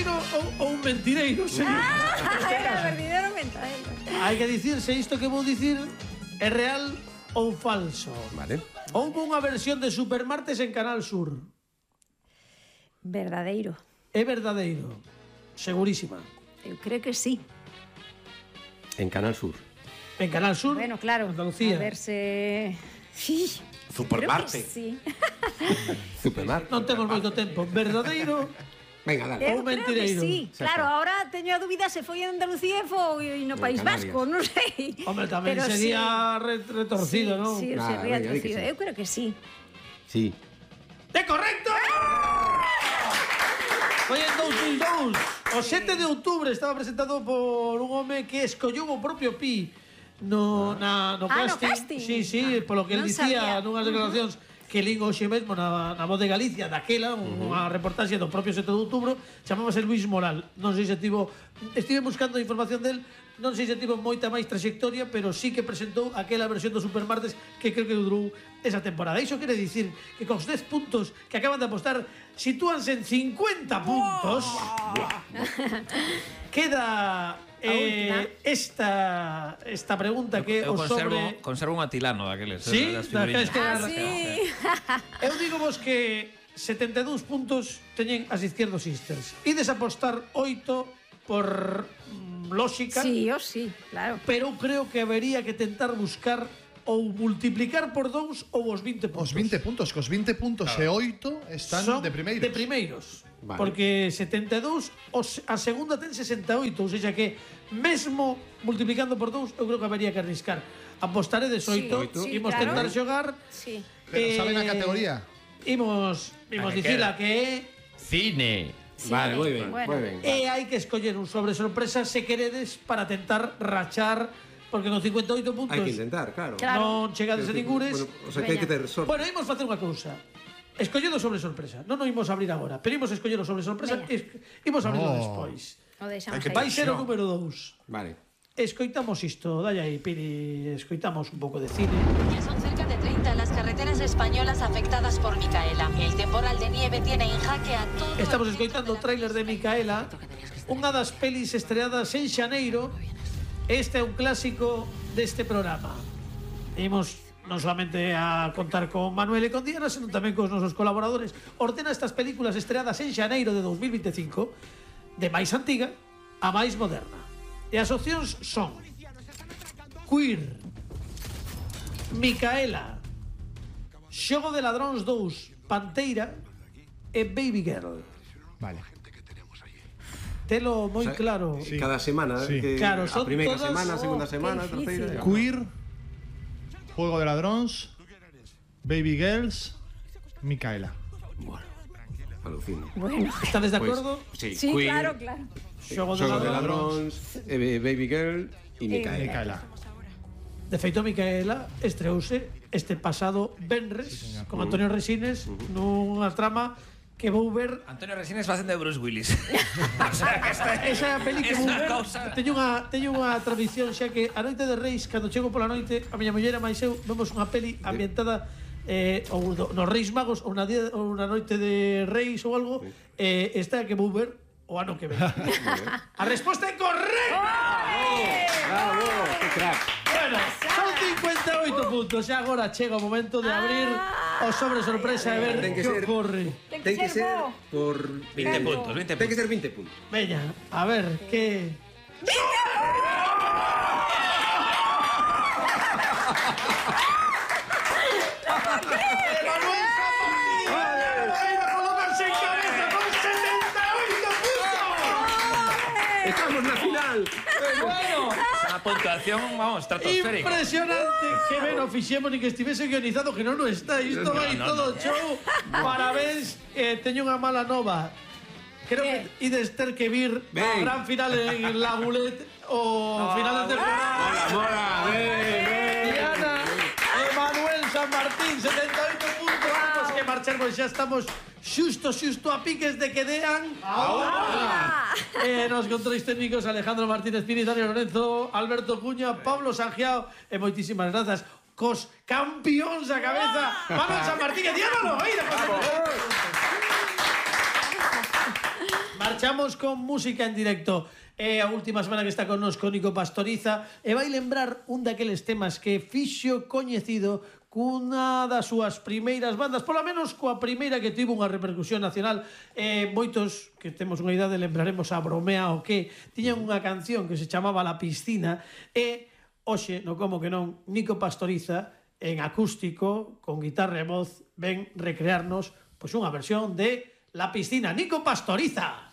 verdadeiro ou un mentireiro, señor. Verdadeiro mentadeiro. Hai que dicir se isto que vou dicir é real ou falso. Vale. Houve unha versión de Supermartes en Canal Sur. Verdadeiro. É verdadeiro. Segurísima. Eu creo que sí. En Canal Sur. En Canal Sur, Bueno, claro. Andalucía. A ver se... Sí. Supermarte. Creo que sí. Supermar. Non temos moito tempo. Verdadeiro Venga, dale. Ou Eu creo que mentireiro. sí. Claro, ahora teño a dúbida se foi en Andalucía e foi no País Canarias. Vasco, non sei. Home, tamén Pero sería retorcido, non? Sí, Ah, sería venga, di que retorcido. sí. Eu creo que sí. Sí. ¡É correcto! Foi en 2002. O 7 de outubro estaba presentado por un home que escollou o propio Pi no casting. casting. Sí, polo que el Non dicía sabía. nunhas declaracións que lín hoxe mesmo na Voz de Galicia daquela, unha reportaxe do propio 7 de outubro, chamábase Luis Moral. Non sei se estive buscando información del, non sei se tivo moita máis trayectoria, pero sí que presentou aquela versión do Supermartes que creo que durou esa temporada. Iso quere dicir que cos 10 puntos que acaban de apostar sitúanse en 50 puntos. Queda esta pregunta que Eu o sobre... conservo un atilano daqueles. Sí? das figuriñas. Sí. Eu digo vos que 72 puntos teñen as Izquierdo Sisters. Ides apostar 8 por lógica, Sí, yo sí, claro. pero eu creo que habería que tentar buscar ou multiplicar por 2 ou os 20 puntos. Os 20 puntos, cos 20 puntos e 8 están Son de primeiros. De primeiros. Vale. Porque 72, a segunda ten 68, ou seja que mesmo multiplicando por 2, eu creo que habería que arriscar. Apostaré de 8, Sí, imos claro. tentar xogar. Sí. Pero saben a categoría? Imos dicila que é Cine. Vale, moi ben, Bueno. moi ben. e hai que escoller un sobre sorpresa se queredes para tentar rachar, porque con 58 puntos Hai que intentar, claro. Claro. non chegades a ningures. Bueno, o sea que hai que ter sorte. Bueno, imos facer unha cousa. Escolledo sobre sorpresa. Non o imos abrir agora, pero imos escoller o sobre sorpresa Veña. e imos abrirlo No. despois. O deixamos Hai que aí. Vai ser o número 2. Vale. Escoitamos isto, dalle aí, Piri, escoitamos un pouco de cine. Ya son cerca de 30 las carreteras españolas afectadas por Micaela. El temporal de nieve tiene en jaque a todo. Estamos el centro escoitando o de la tráiler de Micaela, unha das pelis estreadas en xaneiro. Este é un clásico deste programa. Imos non solamente a contar con Manuel e con Diana, senón tamén cos nosos colaboradores. Ordena estas películas estreadas en xaneiro de 2025, de máis antiga a máis moderna. E as opcións son Queer, Micaela, Xogo de Ladróns 2, Panteira e Baby Girl. Vale. Telo moi O sea, claro. Sí. Cada semana, Sí. que Claro, a son primeira todas- semana, a segunda semana, a qué terceira. difícil. Queer, Juego de Ladróns, Baby Girls, Micaela. Alucino. Bueno. Estades de Pois, acordo? sí, Sí, Queer, claro, claro. Xogo Xogo de Ladróns. Ladróns, Baby Girl e Micaela. Micaela. De feito, Micaela estreouse este pasado venres con Antonio Resines nunha trama que vou ver. Antonio Resines facendo de Bruce Willis. O sea, que Esa peli que es vou unha ver cousa. teño unha tradición xa que a noite de Reis, cando chego pola noite, a miña muller e máis eu vemos unha peli ambientada ou nos Reis Magos ou na noite de Reis ou algo, esta que vou ver o ano que ven. A resposta é correcta. Bravo, que crack. Bueno, son 58 puntos. E agora chega o momento de abrir o sobre sorpresa e ver Ten que que ser- ocorre. Ten que ser bo. por 20 puntos, 20 Ten que puntos. ser 20 puntos. Veña, a ver, que... ¡Manuel Zapatilla! ¡Colocarse en cabeza con 78 Estamos na final. puntos! Bueno, Unha puntuación, vamos, estratosférica. impresionante. Que ben o fixemos ni que estivese guionizado, que non está. Isto vai no, todo show. Parabéns, teño unha mala nova. Creo que ides ter que vir a Ben. gran final en La Goulet o final de temporada. Mola, ben. Diana e Manuel San Martín, 78 puntos. Temos que marchar, pois xa estamos xusto a piques de que dean nos controis técnicos Alejandro Martínez Pini, Daniel Lorenzo, Alberto Cuña, Pablo Sangiao e moitísimas grazas cos campións a cabeza Manuel San Martín e Diana Loeira. Marchamos con música en directo. É a última semana que está connosco Nico Pastoriza e vai lembrar un daqueles temas que fixo coñecido cunha das súas primeiras bandas, polo menos coa primeira que tivo unha repercusión nacional. Moitos que temos unha idade lembraremos a Bromea o que tiñan unha canción que se chamaba La Piscina e hoxe, no como que non, Nico Pastoriza en acústico, con guitarra e voz, ven recrearnos pois unha versión de La Piscina. Nico Pastoriza.